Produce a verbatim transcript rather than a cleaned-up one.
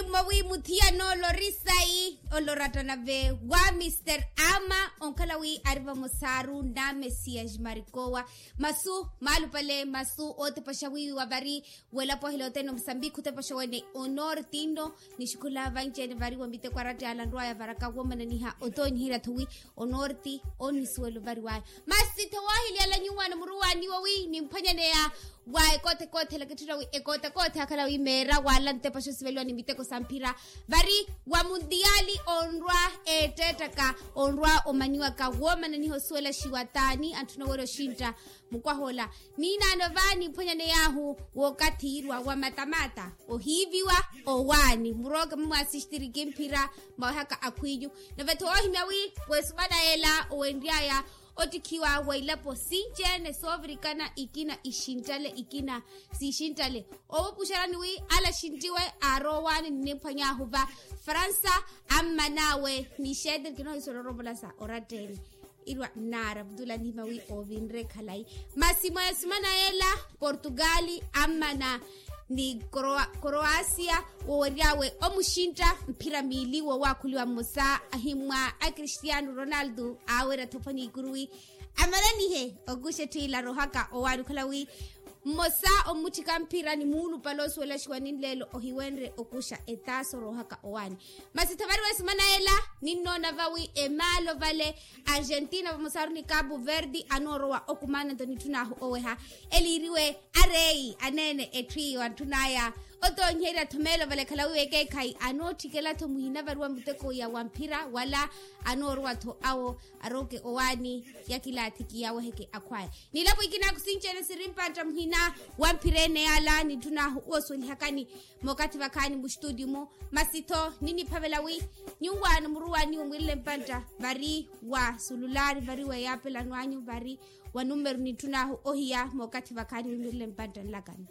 Mwawi muthiyana olorisai olorattana ve wa mister ama onkhala wi ari vamosaru na messias marikowa masu maalupale masu ootepaxa wiiwa vari welapo ahilotene omusambikhi otepaxa wene onorti nno nixukhula vanci-ene vari wa miteko arattiyala nrwaya varaka womananiha otoonyiherya-tho wi onorti onisuwelo variwaya masi tho woohiliyala nyuwaana muruwaani wowi nimphwanyaneya wa ekoote ekoote ela kitthuna wi ekoote ekoote akhala wi meera wala ntepa xosiveliwa ni miteko sa mphira vari wa muntiyali onrwa eetteettaka onrwa omanyiwaka woomananiha osuwelaxiwa taani antthuna owerya oxintta mukwaha ola niinaano va nimphwanyaney'ahu w'okathi irwa wa matamata ohiiviwa owaani murooke mumwaasixtiriki mphira mawehaka akhwinyu nave-tho woohimya wi wesumana ela owenry'aya ottikhiwa wa ilapo sinci-ene soovirikana ikina ixinttale ikina siixinttale oowupuxerani wi ala axinttiwe aaroowaani ninimphwany'ahu va fransa amman'awe ni xeeteri kinoohisola oroopola sa oratta-ene irwa nnaara vutula nihimya wi oovinre khalayi masi mwa esumana yeela portugali ammana ni koroasia wowery'awe omuxintta mphira miili wowaakhuliwa mmosa ahimmwa a cristiano ronaldo aawerya-tho phwanya ikuru wi amananihe okuxa etthu ila aroohaka owaani okhala wi mmosa omutthika mphira ni muulupale osuwelaxiwa ni nleelo ohiwenrye okuxa etaaso oroohaka owaani masi tho vari wesumana ela ninnoona vawi emaalo vale argentina vamosaru ni cabo verde anoorowa okumaana nto nitthun'ahu oweha eliiriwe areyi aneene etthu iyo antthun'aya otoonyiherya-tho meelo vale khalawi w'ekeekhayi anootthikela-tho muhina vari wa muteko ya wa mphira wala anoorowa-tho awo arooke owaani ya kilaathiki yaweheke akhwaya nilapo ikinaku sinci-ene siri mpantta muhina wa mphira ene yala nitthun'ahu osuwelihakani mookathi vakhaani mustutio-mu masi-tho niniphavela wi nyuwaano muruwaani wimwirile mpantta vari wa sululari vari wa eyaapelano anyu vari wa numeru nitthun'ahu ohiya mookathi vakhaani wimwirile mpantta nlakani